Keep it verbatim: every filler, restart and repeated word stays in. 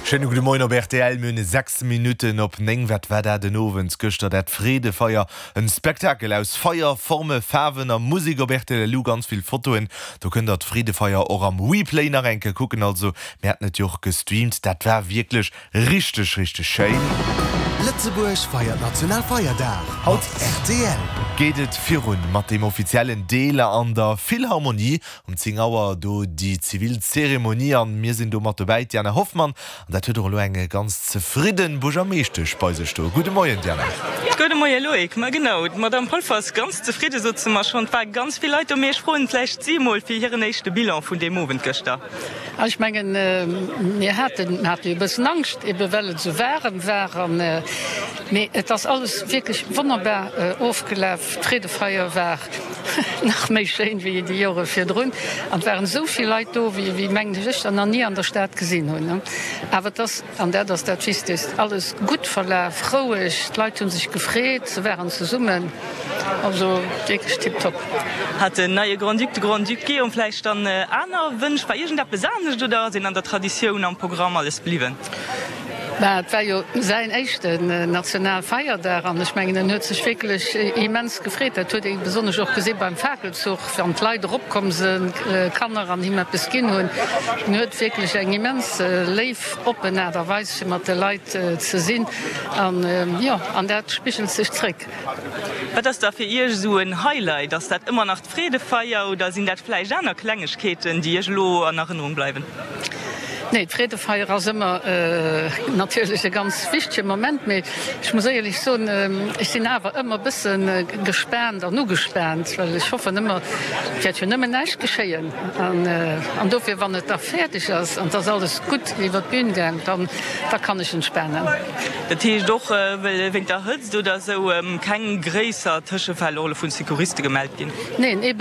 Schéine gudde Moien op rtl, mir hunn sechs Minutten op néng. Wat war dat en Owend gëschter, dat Freedefeier? En Spektakel aus Feier, Forme, Faarwen a Musek op rtl. Elo ganz vill Fotoen. Do kënnt der d'Freedefeier och am Replay nach eng Kéier kucken. Also mir haten et jo och gestreamt. Dat war wierklech richteg, richteg schéin. Lëtzebuerg feiert Nationalfeierdag Haut rtl. geet et virun mat dem offiziellen Deel an der Philharmonie. Um zéng Auer do déi zivil Zeremonie an mir sinn do mat dobäi, d'Diana Hoffmann. An dat huet och elo eng ganz zefridden Buergermeeschtesch bei sech do. Gudde Moien, Diana. Gudde Moie Loïc. Ma genau, d'Madame Polfer ass ganz zefridde, sot se mer schonn. Et ware ganz vill Leit do. Mee ech froen vläicht si emol fir hiren éischte Bilan vun deem Owend gëschter. Ech mengen, mir haten hate jo e bëssen Angscht, ebe well et esou waarem war an, mee et ass alles wierklech wonnerbar ofgelaf. D'Freedefeier war nach méi schéin wéi déi Jore virdrun an et waren esou vill Leit do, wéi, wéi mengen ech, ech der nach ni an der Stad gesinn hunn. Awer et ass, an dat ass dat Wichtegst, alles gutt verlaf, roueg, d'Leit hu sech gefreet, se waren zesummen, also wierklech tiptop. Hat den neie Grand-Duc, de Grand-Duc Guillaume vläicht dann aner Wënsch? War iergendeppes anescht oder ass een an der Traditioun, am Programm alles bliwwen? Bah, et war jo säin éischten Nationalfeierdag an ech mengen, en huet sech wierklech immens gefreet. Dat huet ee besonnesch och gesi beim Fakelzuch, wann d'Leit eropkomm sinn, Kanner, an him eppes ginn hunn. En huet wierklech eng immens léif, oppen Aart a Weis, fir mat de Leit ze sinn an jo, an dat spigelt sech zréck. Wat ass da fir Iech esou en Highlight? Ass dat ëmmer nach d'Freedefeier oder sinn dat vläicht aner Klengegkeeten, déi Iech elo an Erënnerung bleiwen? Nee, d'Freedefeier ass ëmmer natierlech e ganz wichtege Moment, mee ech muss éierlech soen, ech sinn awer ëmmer e bësse gespaant an ugespaant, well ech hoffen ëmmer, et wäert jo nëmmen näischt geschéien. An dofir, wann et da fäerdeg ass an et ass alles gutt iwwer d'Bün gaang, dann da kann ech entspanen. Dat heescht och, well wéint der Hëtzt oder esou keng gréisser Tëschefäll och elo vun Secouriste gemellt ginn? Neen, eben.